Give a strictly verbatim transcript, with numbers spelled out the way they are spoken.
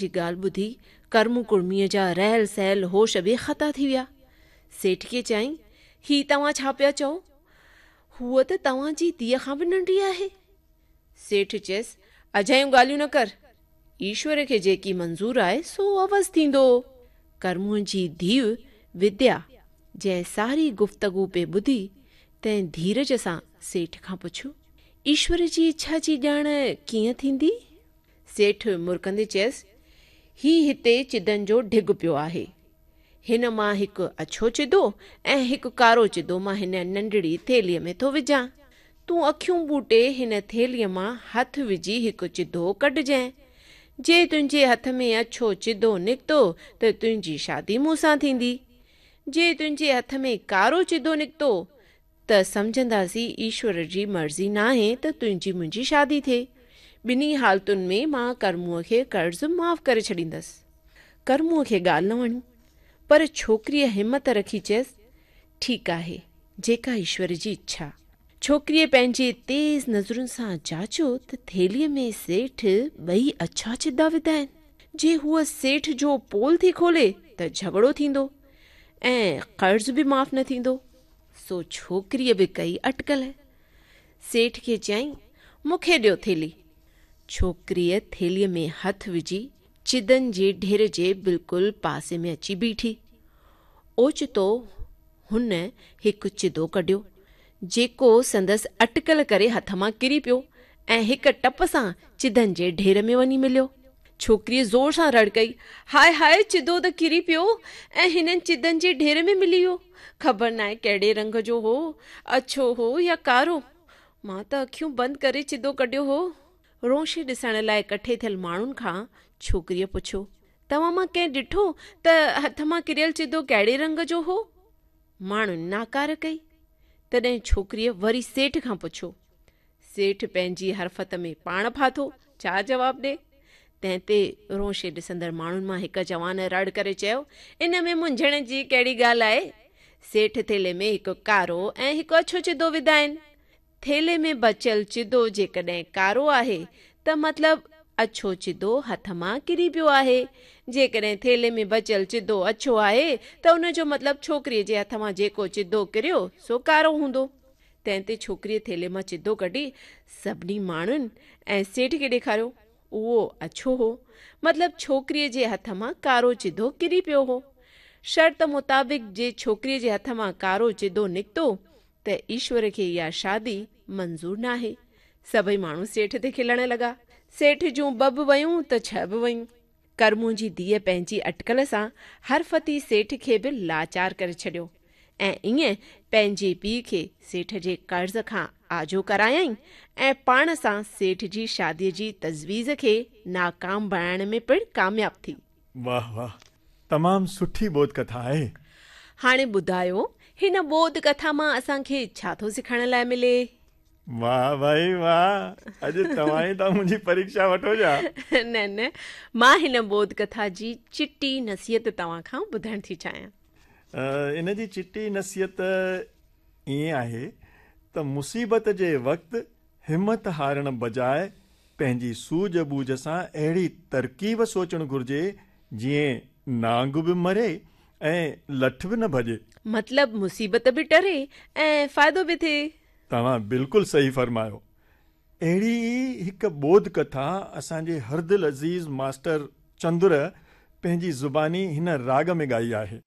جي ڳالهه ٻڌي ڪرمون ڪڙميء جا رهيل سهيل هوش به خطا ٿي ويا. سيٺ کي چيائين، هي توهان ڇا پيا چئو؟ هوء ته توهان جي ڌيء کان به ننڍي آهي. سيٺ چيس، اجايون ڳالهيون نه ڪر. ايشور کي جيڪي منظور آهي سو اوس ٿيندو. ڪرمونء جي ڌيء وديا جنهن ساري گفتگو پئي ٻڌي، تنهن ڌيرج سان سيٺ کان پڇيو، ايشور جي اڇا جي ڄاڻ ڪيئن ٿيندي؟ سيٺ مرڪندي چيس، هي هتي چدن جو ڍڳ پيو آهي. هن مان هڪ اڇو چدو ۽ هڪ ڪارو چدو مان هن ننڍڙي ٿيلهيء ۾ ٿو وجهان. تون اکيون ٻوٽي هن ٿيلهيء مان هٿ وجهي هڪ چدو ڪڍجانء. جي تنهنجي هٿ ۾ اڇو چدو نڪتو ته تنهنجي شادي مون سان ٿيندي. جي تنهنجي هٿ ۾ ڪارو چدو نڪتو ته سمجهنداسين ايشور جي مرضي ناهي ته تنهنجي منهنجي شادي ٿئي. ٻنهي حالتن ۾ مان ڪرمونء کي قرض معاف ڪري ڇڏيندس. ڪرمونء کي ڳالهه نه وڻي، پر ڇوڪريء همت رکي چيس، ٺيڪ آهي، جيڪا ايشور جي اڇا. ڇوڪريء پنهنجي تيز نظرن سان جاچيو ته ٿيلهيء ۾ سيٺ ٻئي اڇا چدا وڌا آهن. جي هوء سيٺ جو پول ٿي کولي ته جهڳڙو ٿيندو ۽ قرض به معاف نه ٿيندو. سو ڇوڪريء به ڪئي اٽڪل. سيٺ کي چيائين، مون کي ڏيو ٿيلهي. ڇوڪريء ٿيلهيء ۾ هٿ وجهي چدن جي ڍير جي بلڪل پاسي ۾ اچي بيٺي. اوچتو هن هڪ چدو ڪڍيو، جيڪو سندس اٽڪل ڪري هٿ مان ڪري پيو ۽ هڪ ٽپ سان چدن جي ڍير ۾ وڃي مليو. ڇوڪريء زور سان رڙ ڪئي، هاء هاء چدو ته ڪري پيو ۽ هنن چدن جي ڍير ۾ ملي ويو. خبر ناهي ڪهڙي رنگ جو هو، اڇو هو يا ڪارو. مان ته اکيون بند ڪري چدو ڪڍيو هو. رونشي ڏسڻ لاء ڪٺي ٿيل ماڻهن کان ڇوڪريء پڇيو، توهان مان ڪنهن ڏٺو ته هٿ مان ڪريل چدو ڪهڙي رنگ جو هو؟ ماڻهن ناڪار ڪئي. تڏهن ڇوڪريء وري سيٺ کان پڇيو. سيٺ پنهنجي حرفت ۾ پاڻ ڦاٿو، ڇا جواب ڏي؟ تنهن تي رونشي ڏسندڙ ماڻهن مان هڪ جوان رڙ ڪري چيو، ان ۾ منجهڻ جي ڪهڙي ڳالهه آهي؟ سيٺ ٿيلهي ۾ هڪ ڪارو ۽ هڪ اڇو چدو وڌا آهن. ٿيلهي ۾ بچيل چدو جيڪڏهن ڪارو آهي ته مطلب اڇو چدو هٿ مان ڪري پيو آهي. جيڪڏهن ٿيلهي ۾ بچيل چدو اڇو آهي ته ان جو مطلب ڇوڪريء جي هٿ مان جيڪو چدو ڪريو سو ڪارو هوندو. تنهن تي ڇوڪريء ٿيلهي مان چدو ڪڍي سڀني ماڻهن ۽ سيٺ کي ڏيکاريو. اهو اڇو هو. مطلب ڇوڪريء جي هٿ مان ڪارو چدو ڪري پيو هو. شرط مطابق جي ڇوڪريء جي هٿ مان ڪارو چدو نڪتو ته ايشور کي اها شادي منظور ناهي. سڀئي ماڻهو سيٺ تي کلڻ لڳا. سيٺ جون ٻه به ويون ته ڇهه به ويون. ڪرمون جي ڌيء پنهنجي اٽڪل سان حرفتي سيٺ کي به لاچار ڪري ڇڏيو ۽ ائين پنهنجي پيء کي سيٺ جي قرض کان آجو ڪرايائين ۽ پاڻ سان سيٺ جي شاديء جي تجويز کي ناڪام بڻائڻ ۾ پڻ ڪامياب ٿي. واهه واهه تمام سٺي ٻوڌ ڪٿا آهي. هاڻي ٻڌايو هن ٻوڌ ڪٿا مان اسان کي ڇا ٿو سکڻ لاء ملي؟ واهه ڀائي واهه، اڄ توهان ئي ٿا منهنجي پريکشا وٺو ڇا؟ نه نه، مان هن ٻوڌ ڪٿا جي چٽي نصيحت توهان کان ٻڌڻ ٿي چاهيان. ان جي چٽي نصيحت ائين آهي ته مصيبت جي وقت همت هارڻ بجاء پنهنجي سوجهه ٻوجهه سان اهڙي ترڪيب سوچڻ گهرجي جيئن نانگ به مري ۽ لٺ به نه ڀڄي. مطلب مصيبت به ٽري ۽ فائدو به ٿئي. توهان بلڪل صحيح فرمايو. اهڙي ئي هڪ ٻوڌ ڪٿا اسان جي هردل عزيز ماسٽر چندر پنهنجي زباني هن راڳ ۾ ڳائي آهي.